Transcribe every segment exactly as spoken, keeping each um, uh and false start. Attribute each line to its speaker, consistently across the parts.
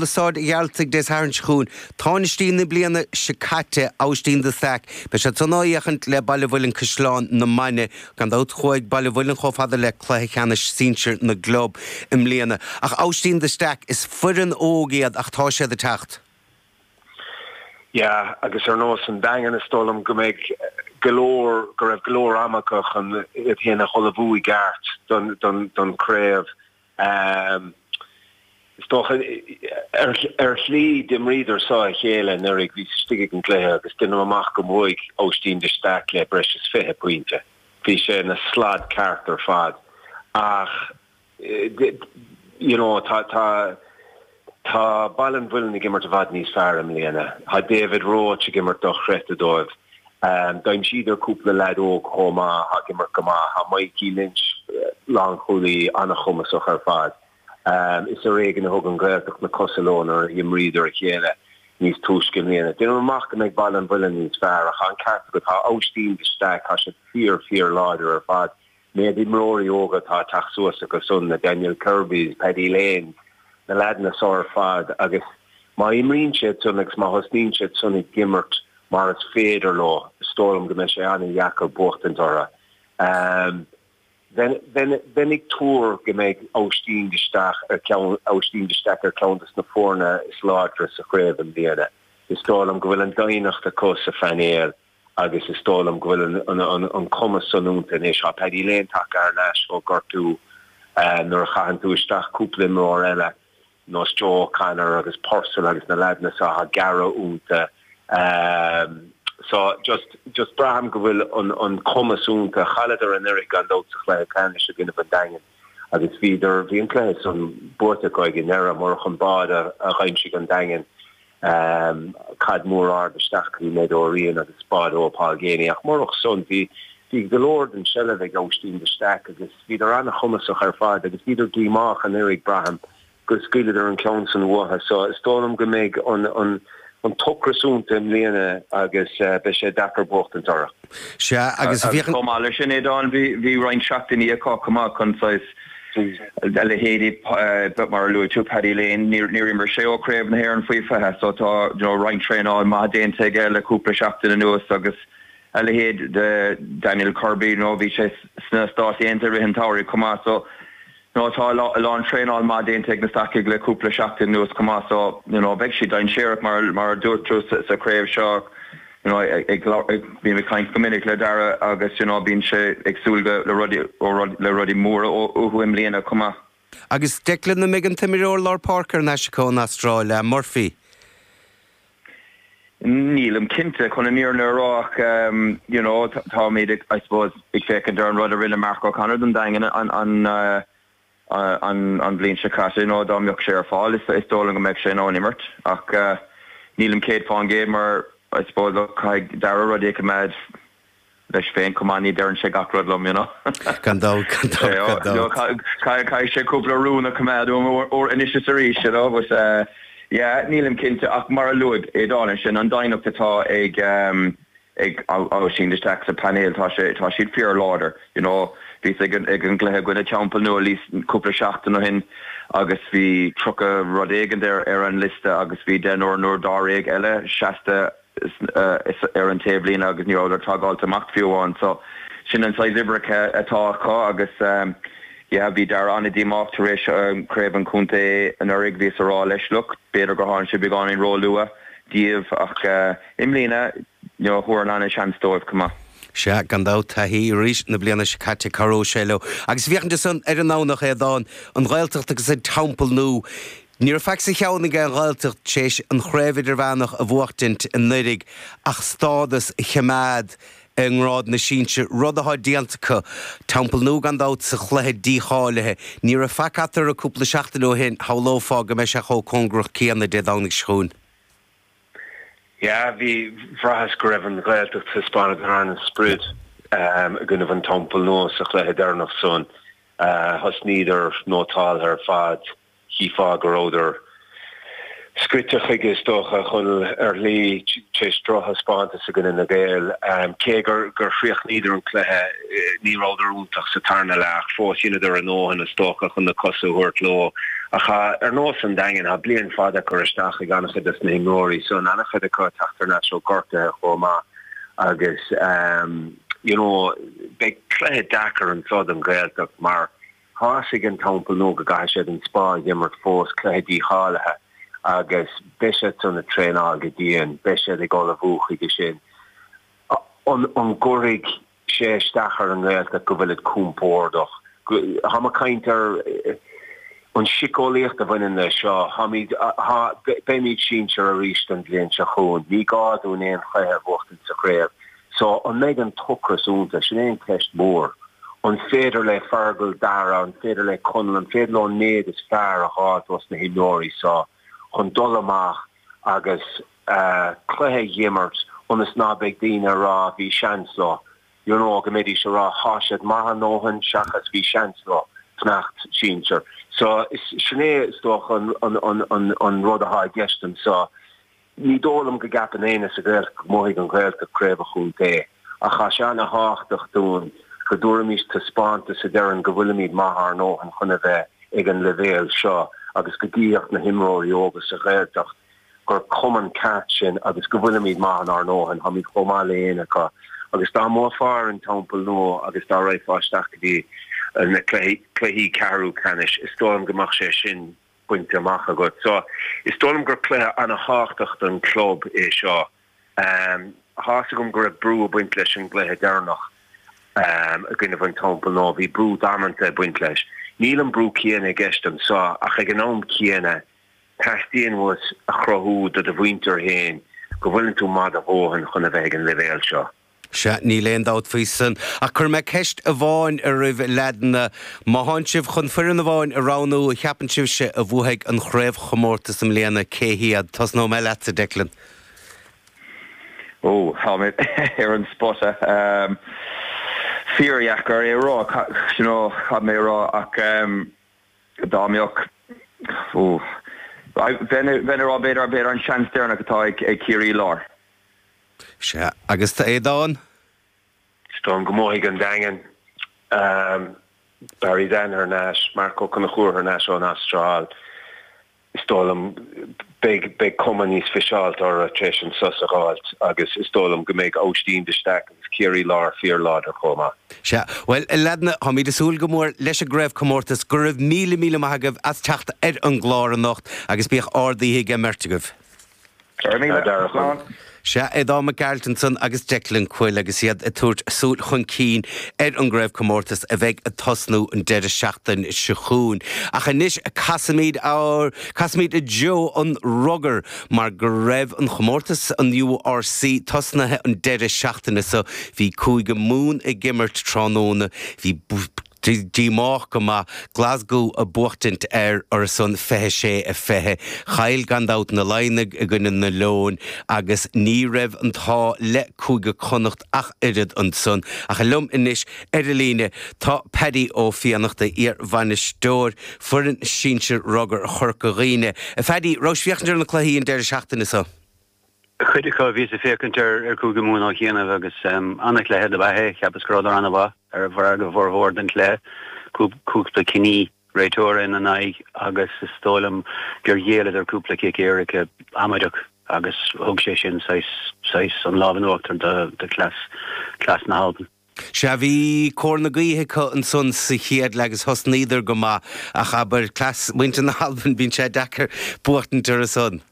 Speaker 1: i Staid an Ghearaltaigh Dé Sathairn seo chugainn. Tánaistí na bliana seo caite, Aibhistín de Staic. Beidh siad san á fhéachaint le Baile an Mhuilinn Caisleán na Mainge. Gan dabht chuaigh Baile an Mhuilinn chomh fada le cluiche ceannais sinsir na gclub i mbliana. Ach Aibhistín de Staic, is foireann óg iad ach tá siad ag teacht.
Speaker 2: Yeah, agus ar nós an Daingean is dóigh liom go mbeidh go leor go raibh go leor ama acu chun iad féin a ullmhú i gceart don don don craobh. Um, is dócha ar ar shlí d'imríodar sá a chéile anuraidh bhí istigh ag an gcluiche agus déanaim amach go mbuaigh Aibhistín de Staic le breis is fiche pointe. Bhí sé ina slad ceart ar fad. Ach you know, tá tá Tá Baile an Mhuilinn ag imirt i bhfad níos fearr i mbliana. Tá David Roche ag imirt dochreidte dóibh. Um, D'aimsíodar cúpla leaid óg chomh maith ag imirt go maith, tá Mikey Lynch lánchúlaí an-chumasach ar fad. Um, is ar éigean a thug an Ghaeltacht na cosa leo nuair a imríodar a chéile níos túisce i mbliana. Déanaim amach go mbeidh Baile an Mhuilinn níos fearr ach an ceart agat tá Aibhistín de Staic tá siad fíor fíor láidir ar fad. Méid imreoirí óga atá ag teacht suas acu san na Daniel Kirby's, Paddy Lane, na leaideanna seo ar fad agus má imríonn siad san agus má thosnaíonn siad san ag imirt mar is féidir leo is dóigh liom go mbeidh sé an-dheacair buachtaint orthu. Um, Bheinn ag tuar go mbeidh Aibhistín de Staic ar ceann Aibhistín de Staic ar ceann des na foirne is láidre sa chraobh i mbliana. Is dóigh liom go bhfuil an doimhneacht acu sa phainéal agus is dóigh liom go bhfuil an, an, an cumas san iontu anois tá Paddy Lane tagtha ar ais ó ghortú uh, nuair a chaitheann tú isteach cúpla imreoir eile nós Joe O'Connor agus Purcell agus na leaideanna seo tá gearradh iontu. Um, so just just braithim go bhfuil an an cumas iontu chailleadar anuraidh gan dabht sa chluiche ceannais i gcoinne an Daingin agus bhíodar bhí an cluiche san buaite acu ag an ndeireadh murach an bád a, a d'aimsigh an Daingean um, cad mór ard isteach go dtí Ned O'Riain agus bád ó Paul Geaney ach murach san bhí bhí go leor den seilbh ag Aibhistín de Staic agus bhíodar an-chumasach ar fad agus bhíodar díomách anuraidh braithim go scaoileadar an ceann san uathu so is dóigh liom go mbeidh an an an t-ocras iontu i mbliana agus uh, beidh sé deacair buachtaint orthu.
Speaker 1: Sea agus
Speaker 3: bhí chomh maith leis sin Aodán bhí bhí roinnt seachtainí acu chomh maith chun saghas a leithéidí mar a luaigh tú Paddy Lane níor níor imir sé ó Chraobh na hÉireann faoi fiche so tá you know, roinnt traenáil maith déanta aige le cúpla seachtain anuas agus a leithéid de Daniel Kirby nó bhí sé sna Stáit Aontaithe rith an tsamhraidh chomh maith so No tá a lán traenáil maith déanta ag na Stacaigh le cúpla seachtain anuas chomh maith so you know, beidh siad dainséarach mar mar a dúirt tú sa, sa chraobh seo you know, ag, ag, ag, bím ag caint go minic le Dara agus you know, bíonn sé ag súil go le rudaí le rudaí móra uathu i mbliana chomh maith.
Speaker 1: Agus Declan an mbeidh an t-imreoir lár páirce ar ais acu ón Astráil le Murphy.
Speaker 3: Nílim cinnte chun an fhírinne a rá ach um, you know, tá mé I suppose ag féachaint ar an rud a rinne Mark O'Connor don Daingean an an uh, an an bhliain seo caite nó dá mbeadh sé ar fáil is is dóigh liom go mbeadh sé in ann imirt ach uh, nílim céad faoin gcéad mar I suppose caithfidh Dara rudaí a choimeád leis féin chomh maith ní deireann sé gach rud liom you know.
Speaker 1: Gan dabht gan dabht
Speaker 3: Caithfidh sé cúpla rún a choimeád anois is arís you know, but uh, yeah, nílim cinnte ach mar a luaigh Aodán sin an doimhneacht atá ag um, ag Aibhistín de Staic sa painéal tá sé tá siad fíorláidir you know bhí ag an ag an gcluiche i gcoinne Teampall Nua Leis cúpla seachtain ó shin agus bhí tríocha rud éigin ar ar an liosta agus bhí deichniúr nó dáréag eile seasta ar an taobhlíne agus ní rabhadar tagáilte amach fiú amháin so sin an saghas oibre atá acu agus um, yeah, bhí Dara an-díomách tar éis um, craobh an chontae anuraidh bhí a rá leis look b'fhéidir gur tháinig sé beagáinín róluath díobh ach uh, i mbliana you know, thuair an seans dóibh chomh maith.
Speaker 1: Sea gan dabht taithí arís na bliana seo caite cabhróidh sé leo. Agus féachaint san ar an nDomhnach Aodán an Ghaeltacht agus an Teampall Nua. Ní raibh faic sa cheann ag an Ghaeltacht tar éis an chraobh idirmheánach a bhuachtaint anuraidh ach stádas a choimeád i ngrád na sinsear rud atá déanta acu Teampall Nua gan dabht sa chluiche dícháilithe. Ní raibh faic eatarthu cúpla seachtain ó shin shamhlófá go mbeidh sé chomh cóngarach céanna Dé Domhnaigh seo chugainn.
Speaker 2: Ja, bhí bhraitheas go raibh an Ghaeltacht thaispeánadar an-sprid um, i gcoinne an Teampall Nua sa chluiche deireanach san uh, thosnaíodar nótáltha ar fad cheapfá go rabhadar scoite chuige is dócha chun ar lí tar éis drochthaispeántas i gcoinne na Gaeil um, cé gur gur chríochnaíodar an cluiche ní rabhadar iontach sa tarna leath fós rinneadar a ndóthain is dócha chun na cosa a thabhairt leo Ach ar nós an Daingean tá bliain fada curtha isteach ag an-chuid des na himreoirí so an-chuid acu ag teacht thar n-ais ó gortuithe chomh maith agus um, you know, beidh cluiche deacair anso don Ghaeltacht mar tá fhios ag an Teampall Nua go gcaithfidh siad an Spá a imirt fós cluiche dícháilithe agus beidh siad san ag traenáil go dian, beidh siad ag ullmhú chuige sin. An, an gcuirfidh sé isteach ar an nGaeltacht go bhfuilid compordach. Tá mé ag caint ar eh, an síceolaíocht a bhaineann leis seo, beimid sinsir arís an bhliain seo chugainn, ní gá dúinn aon chluiche a bhuachtaint sa chraobh. So an mbeidh an t-ocras iontu, sin é an ceist mór. An féidir le Fergal Dara, an féidir le Conall, an féidir leo an méid is fearr a fháil dos na himreoirí so chun dul amach agus uh, cluiche a imirt ionas ná beidh daoine ag rá bhí seans leo. You know, go mbeidís ag rá tá siad maith a ndóthain seachas bhí seans leo fanacht sinsir. So sin é is dócha an, an, an, an, an rud atá i gceist anso. Ní dóigh liom go gceapann éinne sa Ghaeltacht go mbuafaidh an Ghaeltacht craobh an chontae ach tá sé an-tábhachtach dúinn go dtabharfaimid taispeántas a deireann go bhfuilimid maith ár ndóthain chun a bheith ag an leibhéal seo agus go gcífeadh na himreoirí óga sa Ghaeltacht gur cumann ceart sin agus go bhfuilimid maith ár ndóthain, táimid chomh maith le éinne acu agus dá mbuafá ar an Teampall Nua agus dá raghfá isteach go dtí na cluichí ceathrú ceannais is dóigh liom go mbeadh sé sin bainte amach agat. So is dóigh liom gur cluiche an-tábhachtach don club é seo. Um, Tá fhios agam go raibh brú ag baint leis an gcluiche deireanach um, i gcoinne an Teampall Nua, bhí brú damanta ag baint leis. Níl an brú céanna i gceist anso ach ag an am céanna teastaíonn uait a chruthú do do mhuintir féin go bhfuileann tú maith do dhóthain chun a bheith ag an leibhéal seo.
Speaker 1: Sea, níl aon dabht faoi san. Ach cuirfidh mé ceist amháin oraibh a leaideanna. Má thánn sibh chun foireann amháin a roghnú a cheapann sibhse a bhuafaidh an chraobhchomórtas i mbliana, cé hiad? Tosnóidh mé leatsa, Declan.
Speaker 3: Ó, tá mé ar an spota. Um, Fíordheacair é rá you know, cad mé rá ach um, dá mbeadh bheinn ag rá b'fhéidir b'fhéidir an seans deireanach atá ag ag Ciarraí Láir.
Speaker 1: Sea, agus tá Aodán?
Speaker 2: Is dóigh liom go mbuafaidh an Daingean. Um, Barry Dan thar n-ais, Marc Ó Conchúir thar n-ais ón Astráil. Is dóigh liom beidh beidh cuma níos fiseáilte orthu tar éis an sos a fháilt agus is dóigh liom go mbeidh Oisín de Staic agus Ciarraí Láir fíorláidir chomh maith.
Speaker 1: Sea, bhuel, a leaideanna, táimid ag súil go mór leis an gcraobhchomórtas. Go raibh míle míle maith agaibh as teacht ar an gclár anocht agus bíodh ard-oíche ag an mbeirt agaibh.
Speaker 3: Slán.
Speaker 1: Sea, Aodán Mac Gearailt ansan agus Declan Quill agus iad ag tabhairt súil chun cinn ar an gcraobhchomórtas a bheidh ag tosnú an deireadh seachtain seo chugainn. Ach anois casaimid ár casaimid i dtreo an rugair mar go raibh an chomórtas an URC tosnaithe an deireadh seachtaine so bhí Cúige Mumhan ag imirt tráthnóna bhí díomách go maith Glasgow ag buachtaint ar ar son fiche sé a fiche. Chaill gan dabht na Laighnigh i gcoinne na Leoin agus ní raibh an t-ádh le Cúige Connacht ach oiread ansan. Ach liom anois ar an líne tá Paddy Ó Fiannachta iar-bhainisteoir foireann sinsir rugair Chorca Dhuibhne. A Phaddy, raibh sibh ag féachaint ar na cluichí an deireadh seachtaine seo.
Speaker 4: Cuid acu bhíos ag féachaint ar ar Chúige Mumhan ó chianaibh agus um, an-chluiche dob ea é, cheapas go rabhadar an-mhaith ar feadh a bhformhór den chluiche cúpla cinní réiteora ina n-aghaidh agus is dóigh liom gur ghéilleadar cúpla cic éirice amaideach agus thug sé sin saghas saghas an lámh in uachtar do do cleas cleas na hAlban.
Speaker 1: Sea bhí cóir na gaoithe acu ansan sa chéad leath agus thosnaíodar go maith ach abair cleas muintir na hAlban bíonn sé deacair buachtaint orthu san.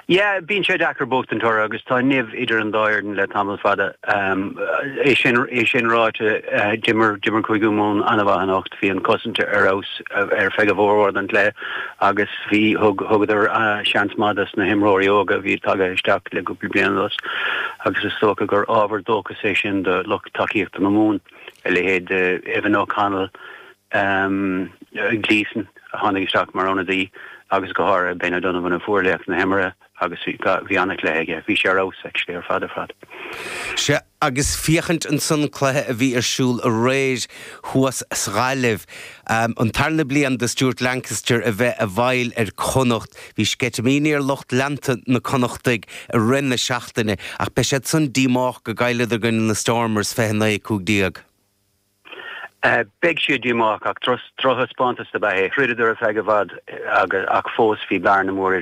Speaker 4: Yeah, bíonn sé deacair buachtaint orthu agus tá nimh idir an dá fhoireann le tamall fada. Um, é sin é sin ráite uh, d'imir d'imir Cúige Mumhan an-mhaith anocht bhí an cosaint ar fheabhas ar feadh a bhformhór den chluiche agus bhí thug thugadar uh, seans maith dos na himreoirí óga bhí tagtha isteach le cúpla bliain anuas agus is dócha gur ábhar dóchais é sin do lucht tacaíochta na Mumhan a leithéid uh, Evan O'Connell um, Gleeson a tháinig isteach mar ionadaí agus go háirithe Ben O'Donovan a fuair laoch na himeartha agus bhí an-chluiche aige, bhí sé ar fheabhas actually ar fad ar fad.
Speaker 1: Sea agus féachaint ansan cluiche a bhí ar siúl aréir thuas sa Ghaillimh. Um, an tarna bliain do Stuart Lancaster a bheith i bhfeighil ar Connacht, bhí sceitimíní ar lucht leanta na Connachtaigh i rith na seachtaine ach beidh siad san díomách go gcailleadar i gcoinne na Stormers fiche naoi cúig déag.
Speaker 4: Uh, Beidh siad díomách ach drochthaispeántas ab ea é throideadar ar feadh i bhfad ach fós bhí bearna mór idir